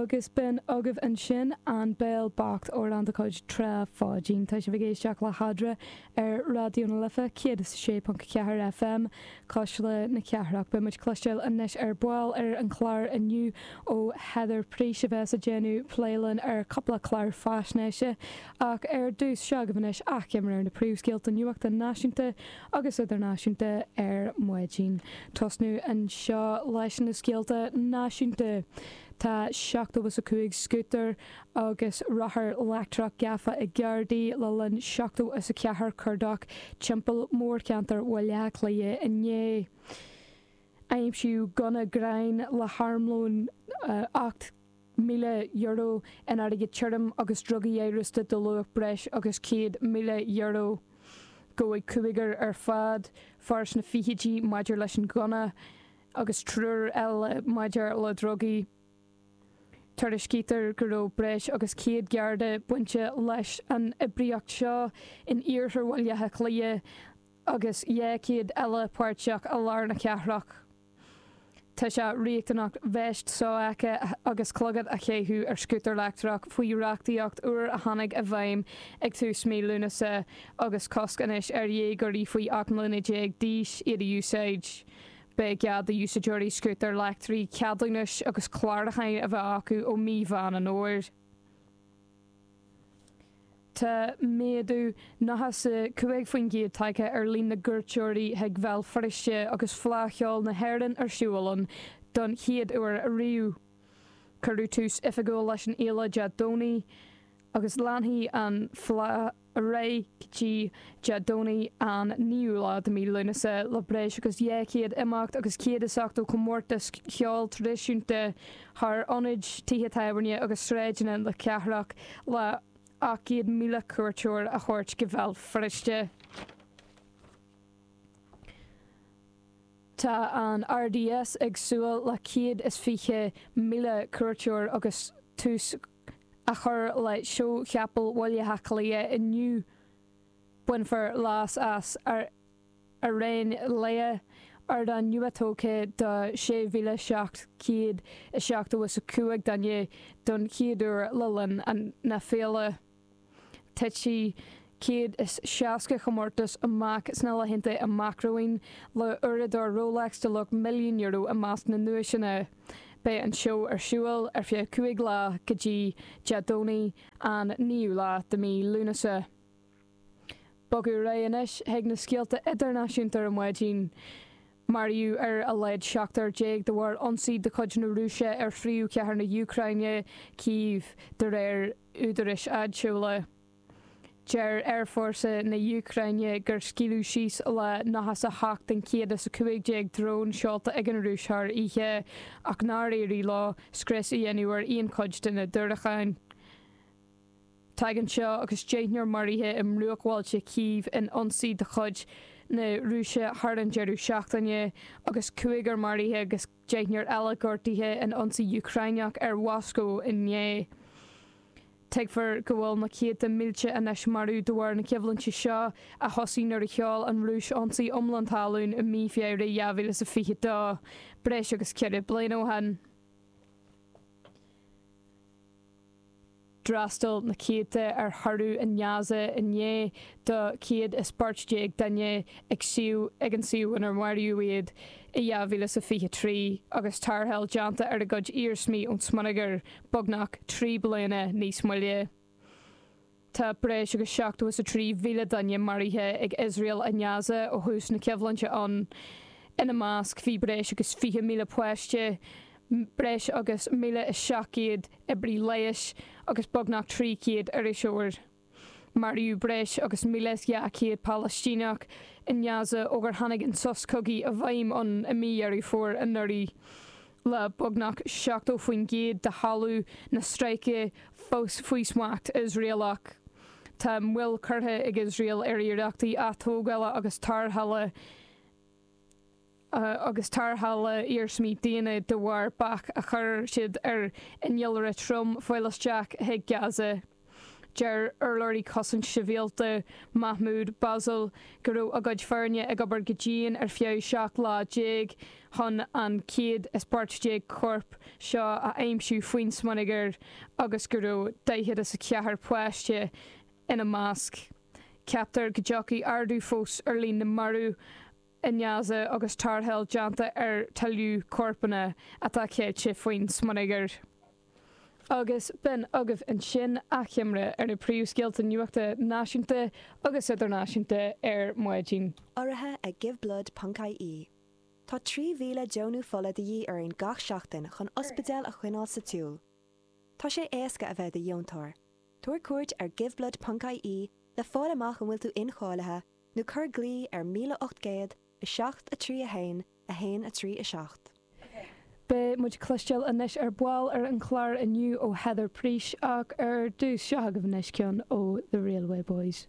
Agus b'in agaibh ansin An Béal Bocht, amhrán de chuid Trá Pháidín. Tá sibh ag éisteacht le hEadra ar Raidió na Life 106.4 FM, Cuisle na Cathrach. Beidh muid ag cloisteáil anois ar ball ar an chlár inniu ó Heather Preece a bheas ag déanamh plé linn ar cúpla clár faisnéise. Ach ar dtús, seo agaibh anois achoimre ar na príomhscéalta nuachta náisiúnta agus idirnáisiúnta ar maidin. Tosnú anseo leis na scéalta náisiúnta. Tá 75 scútar agus rothar leictreach gafa ag Gardaí le linn 74 cuardach timpeall mórcheantar Bhaile Átha Cliath inné. Aimsíodh gunna gráin le harmlón €8,000 in airgead tirim agus drugaí amhrasta de luach breis agus €100,000. Gabhadh cúigear ar fad, fear sna fichidí maidir leis an ghunna agus triúr eile maidir le drugaí. Tuairiscítear go raibh breis agus 100 Garda bainte leis an oibríocht seo in iarthar Bhaile Átha Cliath agus 200 eile páirteach i lár na cathrach. Tá sé riachtanach veist sofheicthe agus clogad a chaitheamh ar scútar leictreach faoi reachtaíocht úr a tháinig i bhfeidhm ag tús mí Lúnasa agus cosc anois ar dhéagóirí faoi 18 mbliana d'aois iad a úsáid. Beidh cead do úsáideoirí scútair leictrigh ceadúnais agus clárúcháin a bheith acu ó mí Mheán an Fhómhair. Tá méadú 95% tagtha ar líon na gcuairteoirí chuig Bhéal Feirste agus Fleadh Cheoil na hÉireann ar siúl ann don chéad uair ariamh. Cuireadh tús oifigiúil leis an fhéile Dé Domhnaigh agus leanfaidh an fhleadh ar aghaidh go dtí Dé Domhnaigh an 9ú lá de mhí Lúnasa le breis agus 200 imeacht agus 180 comórtas ceoil traidisiúnta thar ionaid, tithe tábhairne agus sráideanna na cathrach le 800,000 cuairteoir a thabhairt go Béal Feirste. Tá an RDS ag súil le 120,000 cuairteoir agus tús á chur le Seó Chapall Bhaile Átha Cliath inniu. Bainfear leas as Airéine Lae, ardán nua-tógtha do 6,775 duine don chéad uair le linn na féile. Titfidh 160 chomórtas amach sna laethanta amach romhainn, le uaireadóir Rolex de luach €1,000,000 i measc na nduaiseanna. Beidh an seó ar siúl ar feadh 5 lá go dtí Dé Domhnaigh an 9ú lá de mhí Lúnasa. Bogadh ar aghaidh anois chuig na scéalta idirnáisiúnta ar maidin. Maraíodh ar a laghad seachtar déag de bharr ionsaí de chuid na Rúise ar phríomhchathair na hÚcráine, Cív, de réir údaráis áitiúla. Deir aerfhórsa na hÚcráine gur scaoileadh síos le 98 den 115 drón seolta ag an Rúis thar oíche, ach nár éirigh leo scrios a dhéanamh ar aon chuid de na diúracáin. Tagann seo agus deichniúr maraithe i mbruachbhailte Chív in ionsaí de chuid na Rúise thar an deireadh seachtaine, agus cúigear maraithe agus deichniúr eile gortaithe in ionsaí Úcráineach ar Mhoscó inné. Tuigtear go bhfuil na céadta mílte anois marbh de bharr na coimhlinte seo, a thosaigh nuair a sheol an Rúis ionsaí iomlán talún i mí Feabhra 2022, breis agus ceithre bliana ó shin. D'fhreastail na céadta ar thórramh i nGaza inné do 114 duine ag suíomh ag an suíomh inar maraíodh iad i 2023 agus tarrtháil déanta ar a gcuid iarsmaí ón smionagar beagnach 3 bliana níos moille. Tá breis agus 73,000 duine maraithe ag Iosrael i nGaza ó thús na coimhlinte ann. Ina measc bhí breis agus 20,000 páiste, breis agus 1,700 oibrí leighis agus beagnach 300 iriseoir. Maraíodh breis agus 1,200 Palaistíneach i nGaza ó gur tháinig an sos cogaidh i bhfeidhm ann i mí Dheireadh Fómhair anuraidh. Le beagnach 70% de thalamh na stráice fós faoi smacht Iosraelach, tá moill curtha ag Iosrael ar iarrachtaí atógála agus tarrthála agus tarrthála iarsmaí daonna de bharr bac a chuir siad ar innealra trom fáil isteach chuig Gaza. Deir urlabhraí Cosaint Sibhialta, Mahmoud Bassal, go raibh a gcuid foirne ag obair go dian ar feadh 17 lá chun an 114 corp seo a aimsiú faoin smionagar agus go raibh 44 páiste ina measc. Ceaptar go dtiocfaidh ardú fós ar líon na marbh i nGaza agus tarrtháil déanta ar tuilleadh corpanna atá ceilte faoin smionagar. Agus b'in agaibh ansin achoimre ar na príomhscéalta nuachta náisiúnta agus idirnáisiúnta ar maidin. Urraithe ag Giveblood ponc ie. Tá 3,000 deonú fola de dhíth orainn gach seachtain chun ospidéil a choinneáil sa tsiúl. Tá sé éasca a bheith i do dheontóir. Tabhair cuairt ar giveblood ponc ie le fáil amach an bhfuil tú incháilithe nó cuir glao ar 1800 7 3 1 1 3 7. Beidh muid ag cloisteáil anois ar ball ar an chlár inniu ó Heather Preece ach ar dtús, seo agaibh anois ceann ó The Railway Boys.